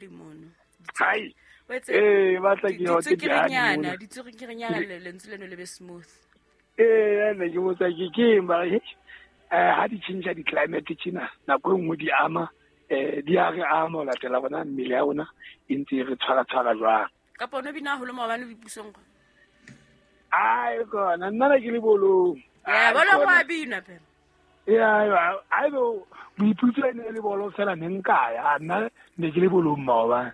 dihadi mono. Hai. Eh, batla ke ho te dihadi. Ditswekere nyana lentswe leno le be smooth. Eh, ne ke botsa ke keng ba ha di change di climate tjena nako e nngwe di ama di a re ama ho latela bona mmele ya rona e ntse re tshwara jwang. Kapa no bina haholo maobane boipusong kwa? Ai kona nna ne ke le bolong. Ya bolo go a bina phela. Ya ai bo boiputso e ne le bolo fela ne nka ya nna ne ke le bolong maobane.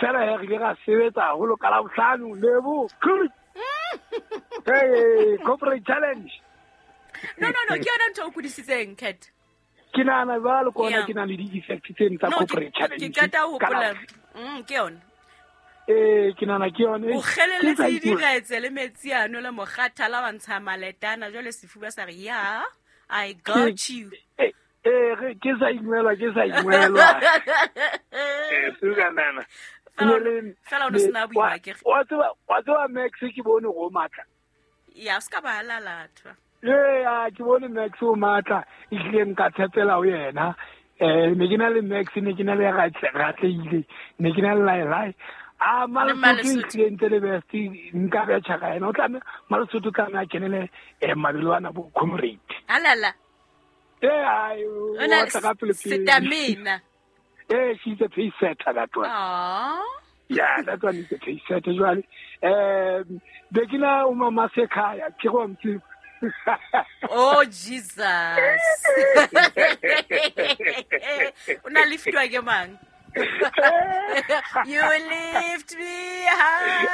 Fela ya re ile ra sebetsa haholo ka Labohlano lebo. Hey, corporate challenge. No, ke yona ntho o kudisitseng, Cat. Ke nahana jwalo kona ke na le di-effect tseno tsa corporate challenge. Ke qeta ho hopola. Ke yona. Eh, ke nahana ke yone. O kgeleletse diretse le metsi ano le mokgathala wa ntsha maletana jwale sefuba sa re ya, I got you. Eh, ke sa ingwelwa. Eh, suka nana. Fela o no sena boima ke. Wa tseba Max ke bone go matla. Ya, se ka ba lalathwa. Ee, ke bone Max o matla, ehlile nka tshepela ho yena. Ne ke na le Max, ne ke na le Ratleile, ne ke na le Lailai. A Malesotho ehlile ntse le best, nka betjha ka yena. O tlameha Malesotho tlameha a kenele mabelo ana bo comrade. Alala. Ee, ai, o tla ka pele pele. Setamina. Eh, she's a pace setter, that one. Aww. Yeah, that one is a pace setter, jwale. Be ke na o mama sekhaya, ke go mtse. Oh, Jesus. O na liftwa ke mang? You lift me high.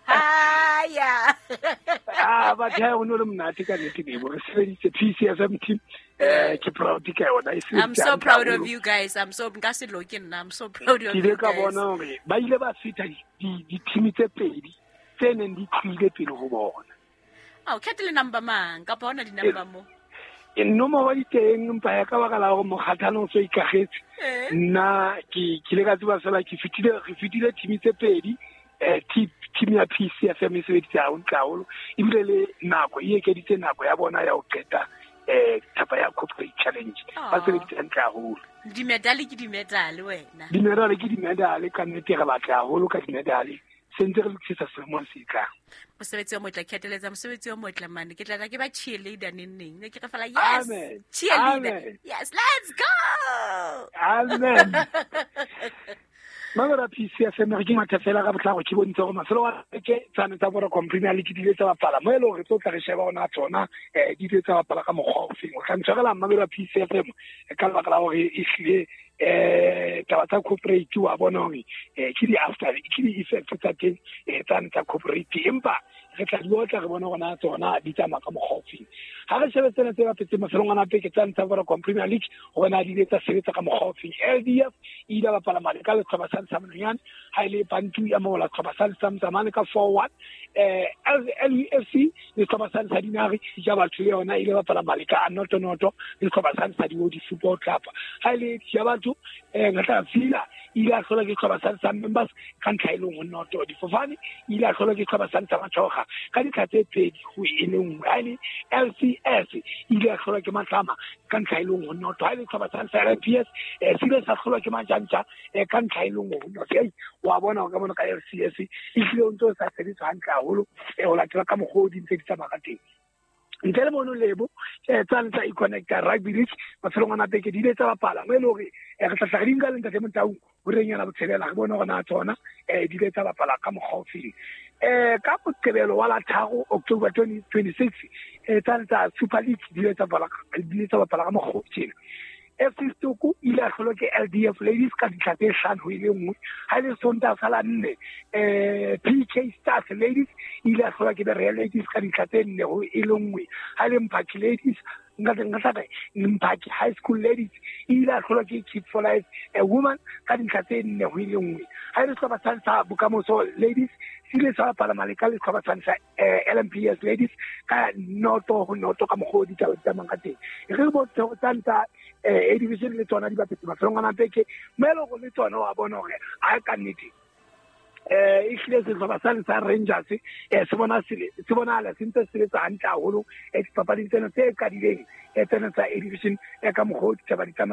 Higher. Ah, but ha o no le monate ka nnete lebo. Re sebeditse PCFM team. Ke proud ka yona. I'm so proud of you guys. I'm so nka se loke nna. I'm so proud of you guys. Ke ile ka bona hore ba ile ba feta di-team tse pedi tse neng di tlile pele ho bona. Ao, khethe le number mang kapa hona di-number mo? E nomoro di teng empa ya ka baka la hore mokgathala o so ikagetse. Nna ke ile ka tseba fela ke fetile re fetile team tse pedi. Team ya PCFM e sebeditse hantle haholo ebile le nako e ekeditse nako ya bona ya ho qeta thapa ya corporate challenge. Ba sebeditse hantle haholo. Dimedale ke dimedale wena. Dimedale ke dimedale ka nnete re batla haholo ka dimedale. Se ntse re lokisetsa selemong se tlang. Mosebetsi o motle, kheteletsa mosebetsi o motle mane. Ke tla tla ke ba cheerleader neng neng. Ne ke re fela yes. Amen. Cheerleader. Amen. Yes, let's go. Amen. Mamela PCFM re ke matha fela ka botlhako ke bontse gore mafelo a ke tsane tsa Vodacom Premier League di ile tsa bapala mo e leng hore tlo tla re sheba ona tsona di ile tsa bapala ka mokgwa o feng. O tla ntshwarela mamela PCFM ka lebaka la hore e hlile taba tsa corporate wa bona hore ke di after ke di effect tsa teng tsane tsa corporate empa re tla di otla re bone hore na tsona di tsamaya ka mokgwa o feng. Ha re shebe tsena tse bapetseng mafelong ana peke tsane tsa Vodacom Premier League hore na di ile tsa sebetsa ka mokgwa o feng. LDF e ile bapala mane ka sehlopha sa Ntshamanonyane, ha e le Bantu ya mola sehlopha sa Ntshamane ka 4-1. LUFC le sehlopha sa Ntsha Dinare ja batho le yona e ile bapala mane ka noto noto le sehlopha sa Ntsha Diodi Football Club. Ha e le ja batho Ngatla Fila ile a hlola ke sehlopha sa Ntsha Members ka ntlha e le nngwe noto. Difofane ile a hlola ke sehlopha sa Ntsha Matshoga ka dintlha tse pedi ho e le nngwe. Ha e le LCS ile a hlola ke Matlama ka ntlha e le nngwe noto. Ha e le sehlopha sa Ntsha LPS se ile sa hlolwa ke Majantja ka ntlha e le nngwe noto. Ei, wa bona ka mona ka LCS e hlile o ntse o sa sebetse hantle haholo ho latela ka mokgwa o di ntse di tsamaya ka teng. Ntle le mono lebo tsane tsa e-connecta rugby league mafelong ana beke di ile tsa bapala mo e le hore re tla tla re di nka le ntate Motaung ho renyana botshelela re bone hore na tsona di ile tsa bapala ka mokgwa o feng. Ka Moqebelo wa la 3 October 2026 tsane tsa Super League di ile tsa bapala ka mokgwa o tjena. FC Stoko ile a hlolwa ke LDF Ladies ka dintlha tse 5 ho e le nngwe. Ha e le Sontaha sa la 4 PK Stars Ladies ile a hlolwa ke the Real Ladies ka dintlha tse 4 ho e le nngwe. Ha e le Mphaki Ladies nka Mphaki High School Ladies ile a hlolwa ke Kids for Life a Woman ka dintlha tse 4 ho e le nngwe. Ha e le sehlopha sa Bokamoso Ladies se ile sa bapala mane ka sehlopha sa LMPS Ladies ka 0-0 ka mokgwa o ditaba di tsamayang ka teng. Re bontshe hore tsane tsa A division le tsona di bapetse mafelong ana beke mo e leng hore le tsona wa bona hore a ka nnete e hlile sehlopha sane sa Rangers se bonahala se ntse se sebetsa hantle haholo dipapading tsena tse qadileng tsena tsa A division ka mokgwa o ditaba di tsamayang.